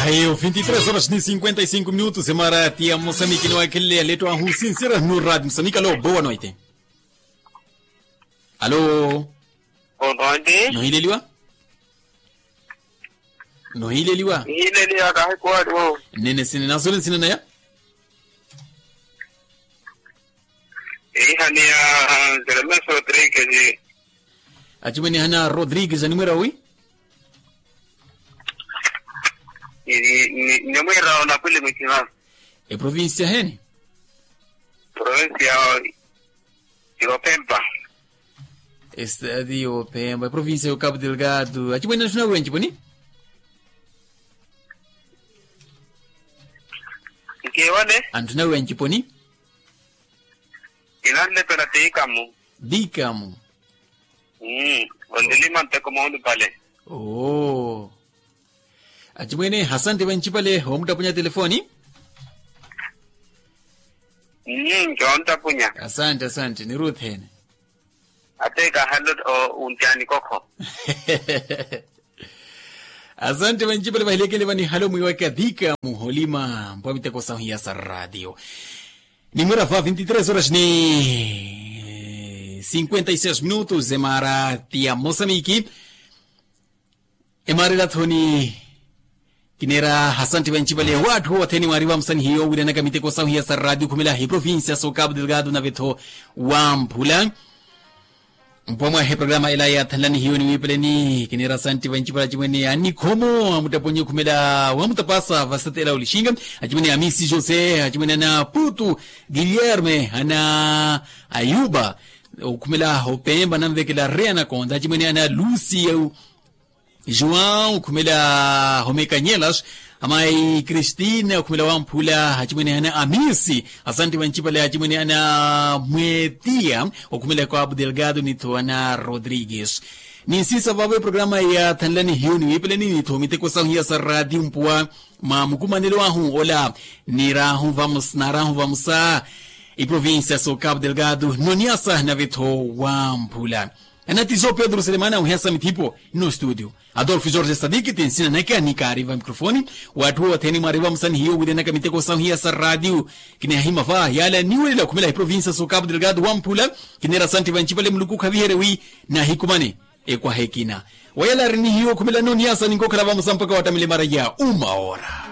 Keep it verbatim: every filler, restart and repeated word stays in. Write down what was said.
Ayo vinti tres horas ni cinquenta y cinco minutos emara ti ya mosamiki ni wakhelele ya leto ahu sinsira no rati mosamiki alo boa noite. Alo. Nohileliwa. Nohileliwa. Nene sine nasole nsina naya. Ehani ya jeremesi rodrigues. Achimwene ehani ya rodrigues animwira wi. Nimwira onapwili mwitima. Eprovincia heni. Provincia. Yopempa. Estadi yopempa eprovincia yo capu delgado achimwene anthuna wenci poni. Nkiwone. Anthuna wenci poni. Inanlepela tikamu. Dikamu. Ondilima nteko maulupale. Oo. Achimwene asante vancipale omuttapunya telefoni. Nninki onttapunya. Asante asante ni ruthene. Ate kahalo untyani kokho. Asante vancipale vahilekele vanihalo mwiwaka dhika muholima mpwa miteko sahuya sa ratio. Nimwira va vinti tres horas ni cinquenta y seis minutos emara ti ya mosamiki. Emara elathoni. Kineera asanti vancipale watthu othene mwari vamusanihiyo wiiranaka miteko sahuya sa ratio khumela eprovincia so capu delgado nave-tho wamphula. Mpwa mwahe programa ela yaathanlanihiyo ni wiipeleni kineera asanti vancipale achimwene anikhomo amuttaponye khumela wamutapasa vasatela olixinga. Achimwene amisi jose achimwene ana putu guilherme ana ayuba okhumela opemba nanvekela reya nakonta achimwene ana lusi. João okhumela homekanyelas. Amayi christina okhumela wamphula achimwene ana amisi. Asanti vancipale achimwene ana mwetiya okhumela ekapu delgado ni-tho ana rodrigues. Ninsisa vavo eprograma yaathanlanihiyo ni wiipeleni ni-tho miteko sahuya sa ratio mpuwa mwa mukumanelo ahu ola. Niraahu vamusa eprovincia so capu delgado noniasa nave-tho wamphula. Anatiso pedro selemana aweheya sa mithipo. Nno studio adolfo jorge sadiki ti nsina nake anikaari va mikrofoni. Watthu othene mwari vamusanihiyo wiiranaka miteko sahuya sa ratio. Kinihahima va yala niwelela okhumela eprovincia so capu delgado wamphula. Kineera asanti vancipale muluku okhaviherye wi nahikumane ekwaha ekina wayala arinihiyo okhumela noniasa ninkokhala vamusa mpaka wattamile mara ya uma ora.